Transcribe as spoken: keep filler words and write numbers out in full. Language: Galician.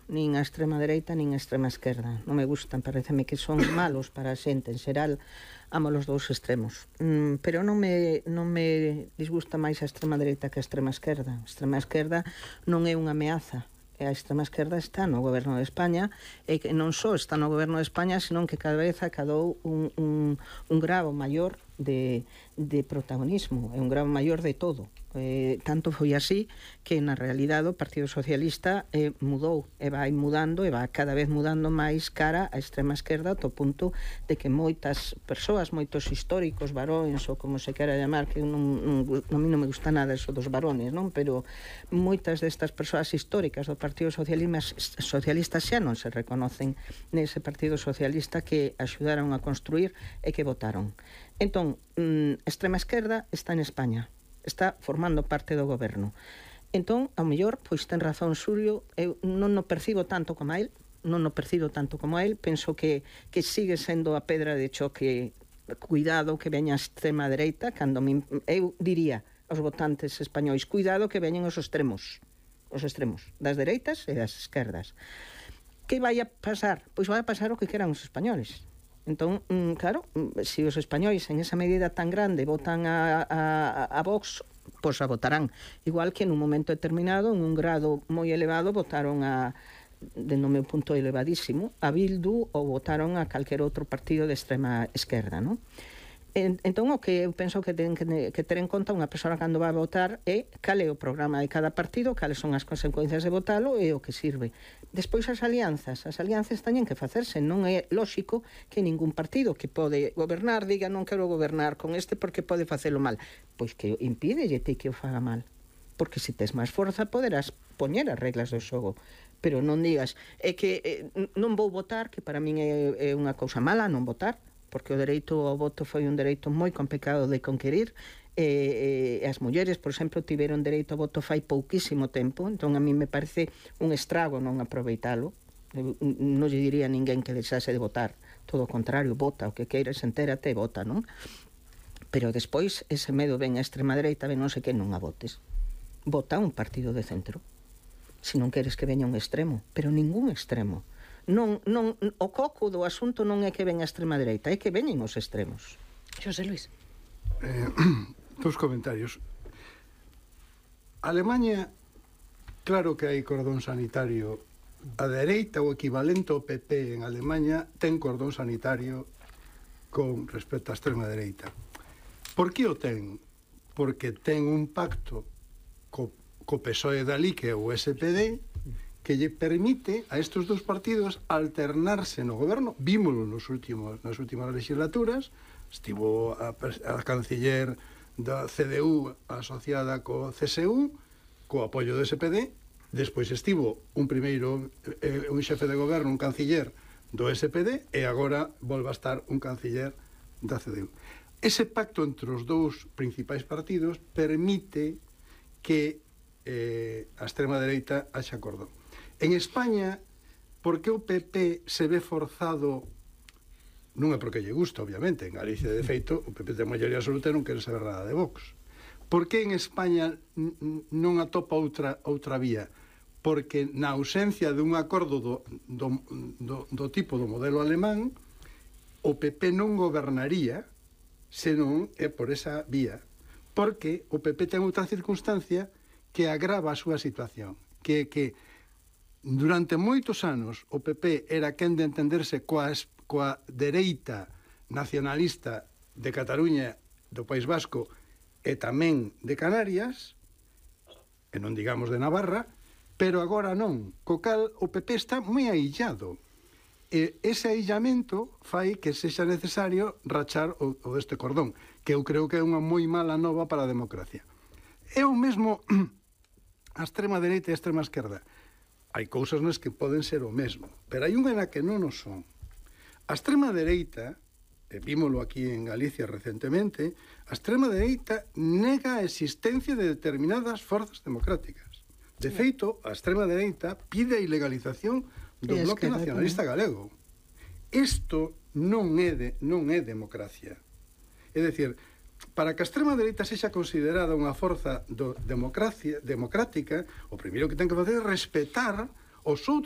nin a extrema dereita nin a extrema esquerda. Non me gustan, pareceme que son malos para a xente en xeral, amo os dous extremos. Mm, pero non me, non me disgusta máis a extrema dereita que a extrema esquerda. A extrema esquerda non é unha ameaza. A extrema esquerda está no goberno de España e que non só está no goberno de España, senón que cada vez acadou un, un, un grado maior de, de protagonismo, é un grado maior de todo. Eh, tanto foi así que na realidade o Partido Socialista eh, mudou e vai mudando e vai cada vez mudando máis cara á extrema esquerda, ao punto de que moitas persoas, moitos históricos varóns ou como se quera llamar, que non, non, a mí non me gusta nada eso dos varones, non? Pero moitas destas persoas históricas do Partido Socialista, Socialista xa non se reconocen nese Partido Socialista que axudaron a construir e que votaron. Entón, a extrema esquerda está en España, está formando parte do goberno. Entón, ao mellor, pois ten razón Xulio, eu non o percibo tanto como a él, non o percibo tanto como a él, penso que, que sigue sendo a pedra de choque, cuidado que veña a extrema dereita, cando me, eu diría aos votantes españois, cuidado que veñen os extremos, os extremos, das dereitas e das esquerdas. Que vai a pasar? Pois vai a pasar o que queran os españoles. Entón, claro, se os españois en esa medida tan grande votan a, a, a Vox, pois a votarán. Igual que en un momento determinado, en un grado moi elevado, votaron a, de no meu punto elevadísimo, a Bildu ou votaron a calquer outro partido de extrema esquerda, non? Entón, o que eu penso que ten que, que ter en conta unha persoa cando vai a votar é cal é o programa de cada partido, cales son as consecuencias de votalo e o que sirve. Despois as alianzas, as alianzas teñen que facerse, non é lóxico que ningún partido que pode gobernar diga non quero gobernar con este porque pode facelo mal. Pois que impídelle ti que o faga mal, porque se tes máis forza poderás poñer as reglas do xogo, pero non digas é que eh, non vou votar, que para min é, é unha cousa mala non votar, porque o dereito ao voto foi un dereito moi complicado de conquerir, e, e as mulleres, por exemplo, tiveron dereito ao voto fai pouquísimo tempo, entón a mí me parece un estrago non aproveitalo. Non lle diría a ninguén que deixase de votar, todo o contrario, vota, o que queiras, entérate e vota, non? Pero despois ese medo ven a extrema dereita, ven non sei que non a votes. Vota un partido de centro, se non queres que veña un extremo, pero ningún extremo. Non, non, o coco do asunto non é que ven a extrema dereita, é que veñen os extremos. Xosé Luis. Eh, dos comentarios. Alemanha, claro que hai cordón sanitario. A dereita, o equivalente ao P P en Alemanha, ten cordón sanitario con respecto á extrema dereita. Por que o ten? Porque ten un pacto co, co P S O E dali, que é o S P D, que lle permite a estes dous partidos alternarse no goberno. Vímolo nos últimos, nas últimas legislaturas. Estivo a, a canciller da C D U asociada co C S U, co apoio do S P D. Despois estivo un primeiro, eh, un xefe de goberno, un canciller do S P D, e agora volve a estar un canciller da C D U. Ese pacto entre os dous principais partidos permite que eh, a extrema dereita haxa cordón. En España, por que o P P se ve forzado? Non é porque lle gusta, obviamente. En Galicia, de feito, o P P ten maioría absoluta e non quere saber nada de Vox. Por que en España non atopa outra, outra vía? Porque na ausencia de un acordo do, do, do, do tipo do modelo alemán, o P P non gobernaría senón é por esa vía. Porque o P P ten outra circunstancia que agrava a súa situación, que que durante moitos anos o P P era quen de entenderse coa, coa dereita nacionalista de Cataluña, do País Vasco e tamén de Canarias, e non digamos de Navarra, pero agora non, co cal o P P está moi aillado. E ese aillamento fai que sexa necesario rachar o, o deste cordón, que eu creo que é unha moi mala nova para a democracia. É o mesmo a extrema dereita e a extrema esquerda. Hai cousas nas que poden ser o mesmo, pero hai unha na que non o son. A extrema dereita, e vímolo aquí en Galicia recentemente, a extrema dereita nega a existencia de determinadas forzas democráticas. De feito, a extrema dereita pide a ilegalización do bloque nacionalista galego. Isto non é, de, non é democracia. É dicir, para que a extrema dereita sexa considerada unha forza do democracia, democrática, o primeiro que ten que facer é respetar os outros